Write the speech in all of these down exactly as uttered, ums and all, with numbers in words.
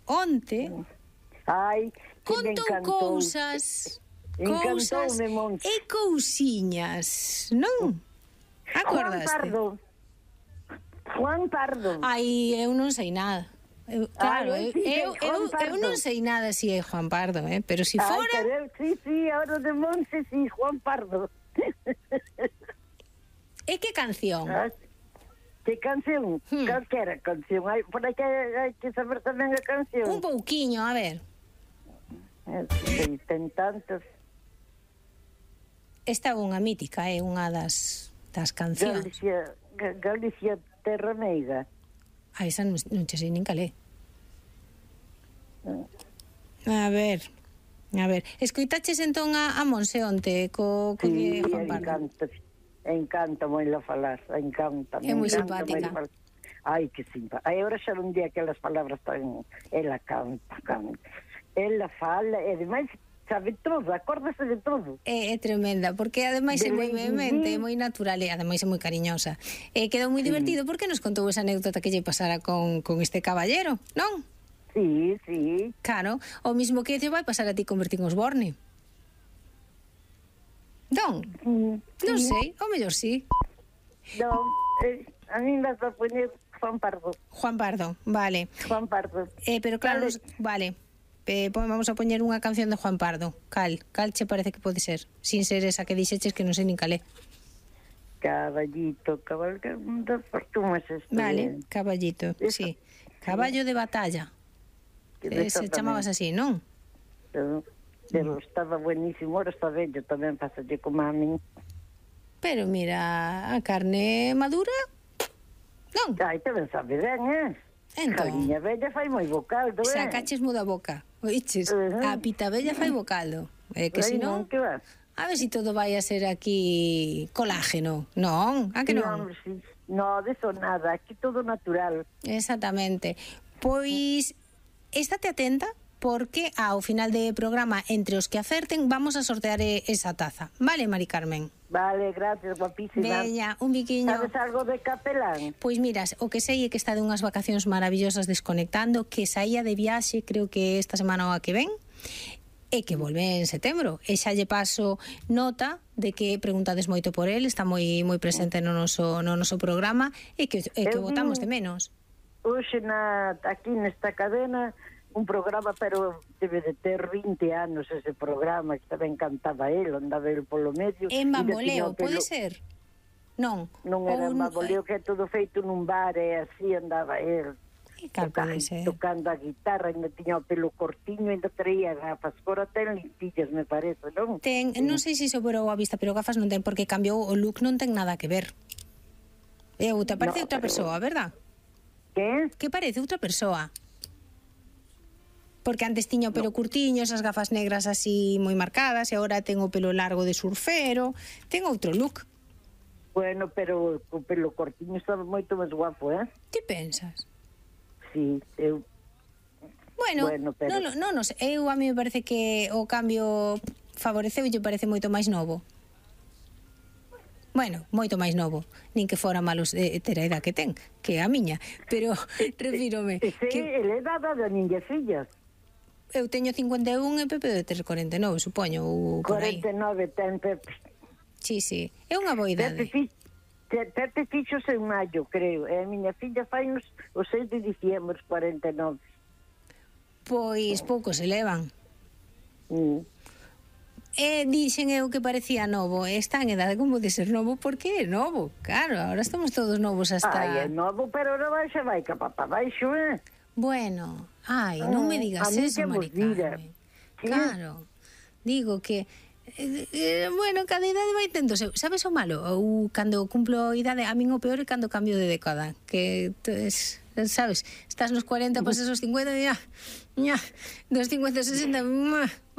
onte Ai, que me contou encantou. cousas, cousas Encantoume, Monse. e cousiñas, non? Acordaste? Juan Pardo. Juan Pardo. Ai, eu non sei nada. Eu, claro, Ai, eu, sí, eu, Juan eu, eu Pardo. non sei nada si é Juan Pardo, eh? Pero si Ai, fora... pero eu, sí, sí, ahora de Monse, sí, Juan Pardo. E que canción? Ah, que canción? Hmm. Calquera canción. Hai, por aí que hai que saber tamén a canción. Un pouquiño, a ver. Eh, sí, ten tantos. Esta é unha mítica, é unha das, das cancións. Galicia, Ga- Galicia Terra Meiga. A esa non, non che sei nin calé. A ver, a ver. Escoitaches entón a, a Monse onte co, co Sí, de Juan Pardo? encanta, encanta moila falar, encanta. É moi encanta simpática. moila falar. Ai, que simpática. Ai, agora xa non di aquelas palabras tan... Ela canta, canta. Ela fala, e demais sabe todo, acórdase de todo. É, é tremenda, porque ademais é De moi Lady vehemente, Di. é moi natural e ademais é moi cariñosa. E quedou moi divertido porque nos contou esa anécdota que lle pasara con, con este caballero, non? Sí, sí. Claro, o mismo que te vai pasar a ti convertir en Osborne. Non? Mm, Non sí. sei, ou mellor sí. Non, eh, a mí me vas a poner Juan Pardo. Juan Pardo, vale. Juan Pardo. Eh, pero claro, Vale. vale. Eh, pues vamos a poñer unha canción de Juan Pardo. Cal, cal che parece que pode ser? Sin ser esa que dixeches que non sei nin calé. Caballito, cabalgando por tu mas esto. Vale, caballito, Eso. sí. Caballo de batalla. Eh, se chamabas así, non? Pero, pero estaba buenísimo, ahora está bello tamén, pasalle como a min. Pero mira, a carne madura, non? Ai, tamén sabe ben, eh? Entón, Cariña bella fai moi bo caldo, eh? sacaches muda boca. Oiches, Ujú. a pita bella fai bo caldo. Eh, que Ai, si non, que vas? a ver si todo vai a ser aquí colágeno. Non, a que non? Non, sí. No, de eso nada, aquí todo natural. Exactamente. Pois, estate atenta, porque ao final de programa, entre os que acerten, vamos a sortear eh, esa taza. Vale, Mari Carmen? Vale, gracias, guapísima. Veña, un biquiño. Sabes algo de Capelán? Pois miras, o que sei é que está de unhas vacacións maravillosas desconectando, que saía de viaxe, creo que esta semana ou a que ven, e que volve en setembro. E xa lle paso nota de que preguntades moito por el, está moi moi presente no noso no noso programa e que e que Eu votamos vi- de menos. Hoxe na, aquí nesta cadena un programa, pero debe de ter vinte anos ese programa, que tamén cantaba él, andaba él polo medio. En e bamboleo, tiña o pelo- pode ser? Non. Non era Ou en bamboleo, que é todo feito nun bar, e así andaba él. E cal pode Tocando, ser? tocando a guitarra, ainda tiña o pelo cortiño, ainda traía gafas. Agora ten limpillas, me parece, non? Ten, non sei se sobrou a vista, pero gafas non ten, porque cambiou o look, non ten nada que ver. Eu, te parece No, outra pero- persoa, verdad? Que? Que parece outra persoa. Porque antes tiña o pelo curtiño, esas gafas negras así moi marcadas, e agora ten o pelo largo de surfero, ten outro look. Bueno, pero o pelo cortiño estaba moito máis guapo, eh? Que pensas? Sí, eu... Bueno, Bueno, pero- non, non, non, sei, eu a mí me parece que o cambio favoreceu e lle parece moito máis novo. Bueno, moito máis novo, nin que fora malos de ter a edad que ten, que é a miña, pero refírome Ese, que ele é dada da ninha fillas. eu teño cincuenta e un e Pepe debe ter corenta e nove, supoño, ou por aí. cuarenta e nove ten Pepe. Sí, sí, é unha boa Pepe, idade. fi, te- Pepe fixose en maio, creo. E a miña filla fai uns, o seis de diciembre, os cuarenta e nove. Pois pouco se levan. Mm. E dixen eu que parecía novo, e está en edade como de ser novo, porque é novo. Claro, ahora estamos todos novos hasta... Ai, é novo, pero non vai, xa vai capa para baixo, eh? Bueno, ai, non me digas a mí eso, que vos Mari diga. Carmen. Sí. Claro, digo que eh, eh, bueno, cada idade vai tendo seu. Sabes o malo? Ou cando cumplo idade, a min o peor é cando cambio de década, que tes, sabes, estás nos cuarenta, pasas os cincuenta, ya, ya, dos cincuenta aos sesenta,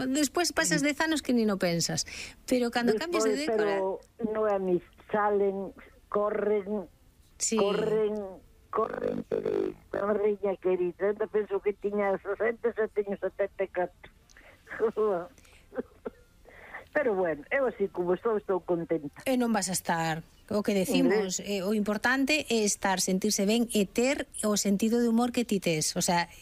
despois pasas dez anos que ni no pensas. Pero cando cambias de Despois, década, pero non é a mí, salen, corren, sí. corren, corren, correña querida. Eu penso que tiña sesenta, xa teño setenta e catro. Pero bueno, eu así como estou, estou contenta. E non vas a estar. O que decimos, eh, o importante é estar, sentirse ben e ter o sentido de humor que ti tes. O sea,